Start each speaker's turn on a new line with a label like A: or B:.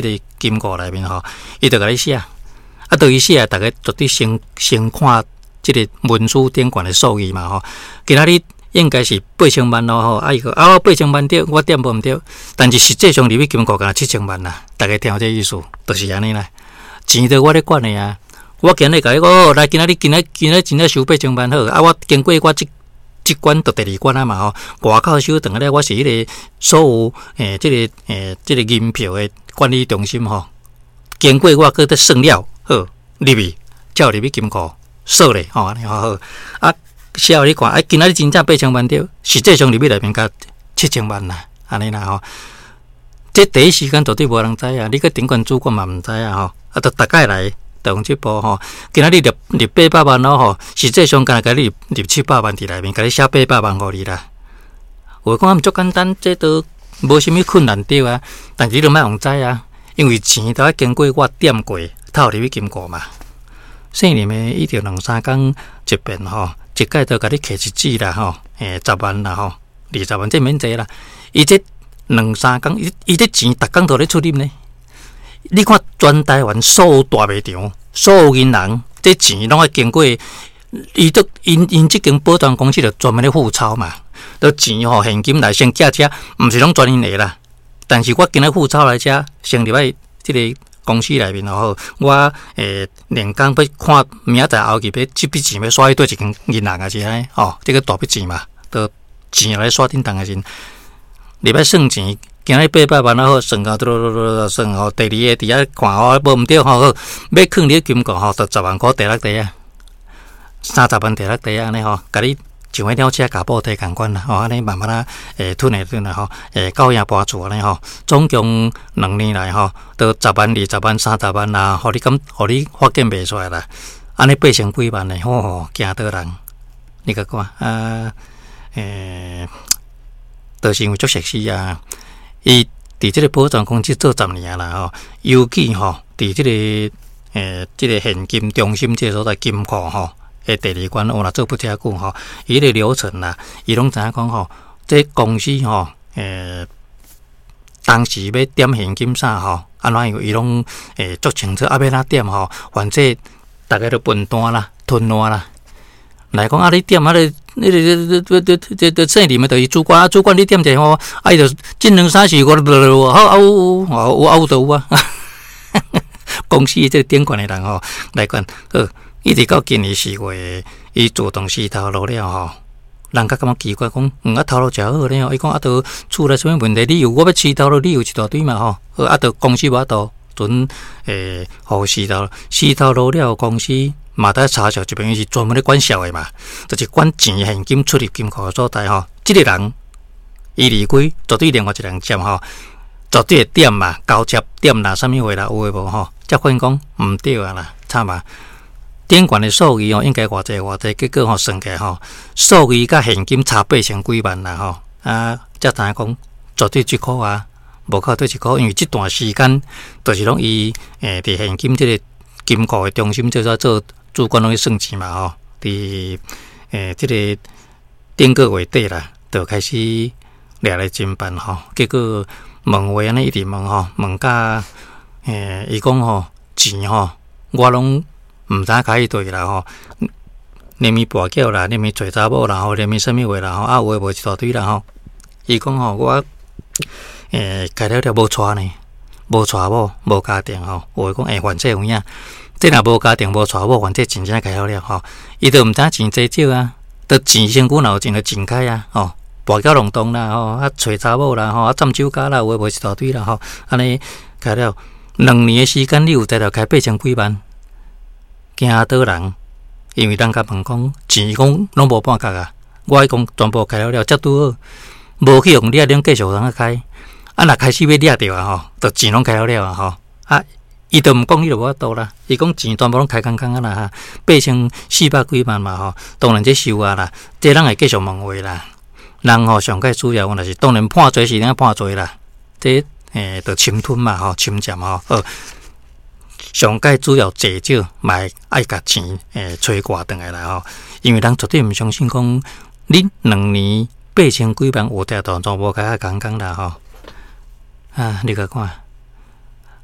A: 這个金庫內面吼，伊就共你寫，啊，對伊寫，逐家絕對先先看這个文書頂懸的數字嘛吼。今仔日應該是八千萬咯吼，啊伊講啊我八千萬對，我點無毋對，但是實際上入去金庫敢若七千萬啦，逐家聽有這意思，就是按呢啦。錢都我咧管的啊，我今日共你講，來今仔日今仔今仔真正收八千萬好，啊我經過我這這關就第二關啊嘛吼，外口收轉來了，我是彼個所有欸這個欸這個銀票的管理中心吼，經過我閣咧算了，好入去，才有入去金庫鎖咧吼，按呢吼好啊。寫予你看，啊，今仔日真正八千萬對，實際上入去內面才七千萬啦，按呢啦吼。這第一時間絕對無人知啊，你閣頂懸主管嘛毋知啊吼，啊，就逐擺來就用這步吼。今仔日入入八百萬咯吼，實際上敢若共你入入七百萬佇內面，共你寫八百萬予你啦。有的講啊，足簡單，這都無啥物困難對啊，但是你都莫予知啊，因為錢都愛經過我點過，才有入去金庫嘛。姓林的伊著兩三工一遍吼。一擺就共你揢一紙啦吼，欸，十萬啦吼，二十萬這免濟啦。伊這兩三工，伊伊這錢逐工都咧出入呢。你看全台灣所有大賣場、所有銀行，這錢攏愛經過伊都𪜶𪜶這間保全公司就專門咧付鈔嘛。都錢吼現金來先寄遮，毋是攏全𪜶的啦。但是我今仔付鈔來遮，先入來這个公司內面吼，我欸兩工欲看明仔載後日欲這筆錢欲刷去佗一間銀行抑是按呢吼，這个大筆錢嘛，都錢來刷叮當的時陣，入來算錢，今仔八百萬啊好，算到嘟嘟嘟嘟算吼，第二个佇遐看吼，無毋對吼，好，欲囥佇金庫吼，就十萬箍綴落地啊，三十萬綴落地按呢吼，共你。像彼鳥車共布袋仝款啦，吼，按呢慢慢仔會吞會吞啦，吼，會到遐搬厝按呢吼，總共兩年來吼，都十萬、二十萬、三十萬啦，予你敢，予你發現袂出來啦，按呢八千幾萬呢，吼，驚倒人，你共看啊，欸，就是因為足熟悉啊，伊佇這个保全公司做十年啊啦吼，尤其吼，佇這个欸，這个現金中心這个所在金庫吼。的第二關，我若做不遮久吼，伊彼个流程啦，伊攏知影講吼，這公司吼，欸，當時欲點現金啥吼，按怎樣，伊攏會足清楚，啊，欲按怎點吼，反正逐家都分單啦，吞爛啦。來講啊，你點啊，你你你你你你姓林的，就是主管啊，主管你點一下吼，啊，伊就這兩三四五六好啊有有有啊有就有啊。公司這個頂懸的人吼來管好。一直到今年4月，伊自動辭頭路了吼，人較感覺奇怪，講啊頭路誠好咧吼，伊講啊都厝內啥物問題理由，我欲辭頭路理由一大堆嘛吼，啊都公司無法度準欸，予辭頭辭頭路了，公司嘛得查查這邊伊是專門咧管數的嘛，就是管錢現金出入金庫的所在吼，這个人伊離開，絕對另外一個人接吼，絕對會點嘛，交接點啦，啥物話啦，有的無吼，才發現講毋對啊啦，慘啊！頂懸的數字吼，應該偌濟偌濟，結果吼算起來吼，數字佮現金差八千幾萬啦吼，啊，才知影講絕對這箍啊，無靠對這箍，因為這段時間就是攏伊欸佇現金這个金庫的中心做做做主管攏去算錢嘛吼，佇欸這个頂個月底啦，就開始掠來偵辦吼，結果問話按呢一直問吼，問甲欸伊講吼錢吼，我攏毋知影開去佗去啦吼，連伊跋筊啦，連伊揣查某啦吼，連伊啥物話啦吼，啊有的無一大堆啦吼。伊講吼，我欸開了了無娶呢，無娶某，無家庭吼。有的講會犯罪有影，這若無家庭無娶某，犯罪真正開了了吼。伊都毋知影錢濟少啊，都錢身軀若有錢就真開啊吼，跋筊弄當啦吼，啊揣查某啦吼，啊佔酒家啦，有的無一大堆啦吼。按呢開了兩年的時間，你有才調開八千幾萬。驚倒人，因為人共問講錢，伊講攏無半角啊！我伊講全部開了了，才拄好，無去予掠，恁繼續通開。啊，若開始欲掠著啊吼，就錢攏開了了啊吼！啊，伊都毋講，你就無法度啦。伊講錢全部攏開空空啊啦哈，八千四百幾萬嘛吼，當然這收啊啦，這人會繼續問話啦。人吼上蓋主要問題是，當然判罪是按判罪啦，這欸就侵吞嘛吼，侵佔吼，好。上蓋主要濟少嘛會愛共錢欸揣掛轉來啦吼，因為人絕對毋相信講你兩年八千幾萬有才全部開啊空空啦吼。啊，你共看。